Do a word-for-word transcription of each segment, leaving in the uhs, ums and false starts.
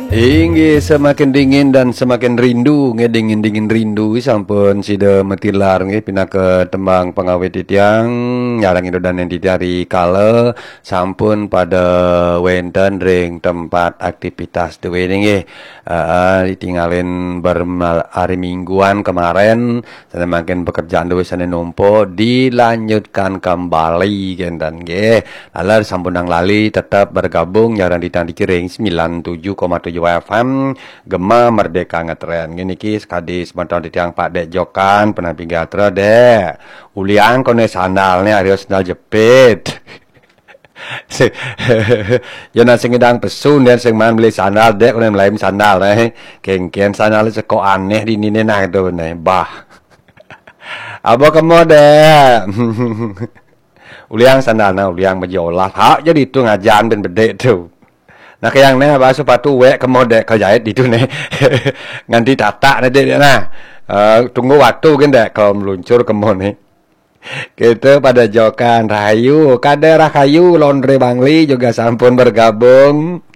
Inggih, semakin dingin dan semakin rindu, nggih, dingin-dingin rindu sampun sida matilar, nggih, pinaka tembang pangawit titiang, nyarengin dodonen titiang rikala sampun pada wenten ring tempat aktivitas duene, nggih. Heeh, ditingalin bermal-, hari Mingguan kemaren, sane mangkin pekerjaan duene sane numpuk dilanjutkan kembali, kenten, nggih. Laler sampunang lali tetep bergabung nyarengin titiang di Ciring sembilan tujuh koma tujuh F M, Gema Merdeka Ngetren. Nggih niki sakadi semeton titiang Pak Dek Jokan, penampi gatra, Dek. Uliang kone sandalne, arya sandal jepit. Yen sing ngidang pesu, den sing maan beli sandal, Dek, kone melaim sandal, eh. Kengken sandal seko aneh di nine nah, gitu, nah. Bah. Aba kemo, Dek. Uliang sandal, nah, uliang bejolah. Hak jadi tu ngajan ben bedek tu. Nah, kayang neh, bah, sepatu wek kemo, Dek, kejait ditu neh. Nganti tatak neh, Dek, nah. Eh, tunggu waktu gen, Dek, kalau meluncur kemo neh. Kita pada jokan rahayu, kada rahayu, Laundry Bangli juga sampun bergabung.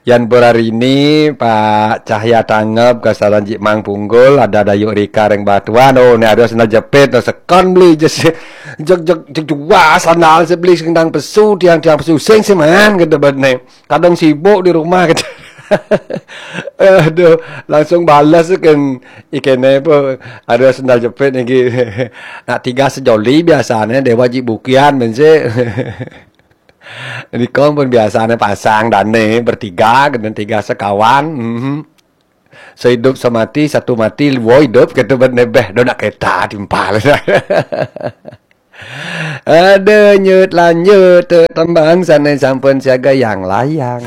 Yan Purarini, Pak Cahya Tangep, kasalan Jik Mang Punggul, ada Dayuk Rika ring Batuan, oh, ni ada sandal jepit, no, sekon beli je si, jeg, jeg, jeg, jua sandal si beli sing dang pesu, tiang, tiang pesu, sing si man, kata bet ni. Kadang sibuk di rumah, kata. Aduh, langsung balas kan, ikene apa, ada sandal jepit lagi. Nak tiga sejoli biasanya, Dewa Jik Bukian, ben si. Nikong pun biasanya pasang dane bertiga, kena tiga sekawan. Mhm. Sehidup semati, satu mati, dua hidup, kata bet nebeh, do nak kereta timpal. Ada nyut lanjut, tembang sane sampun siaga yang layang.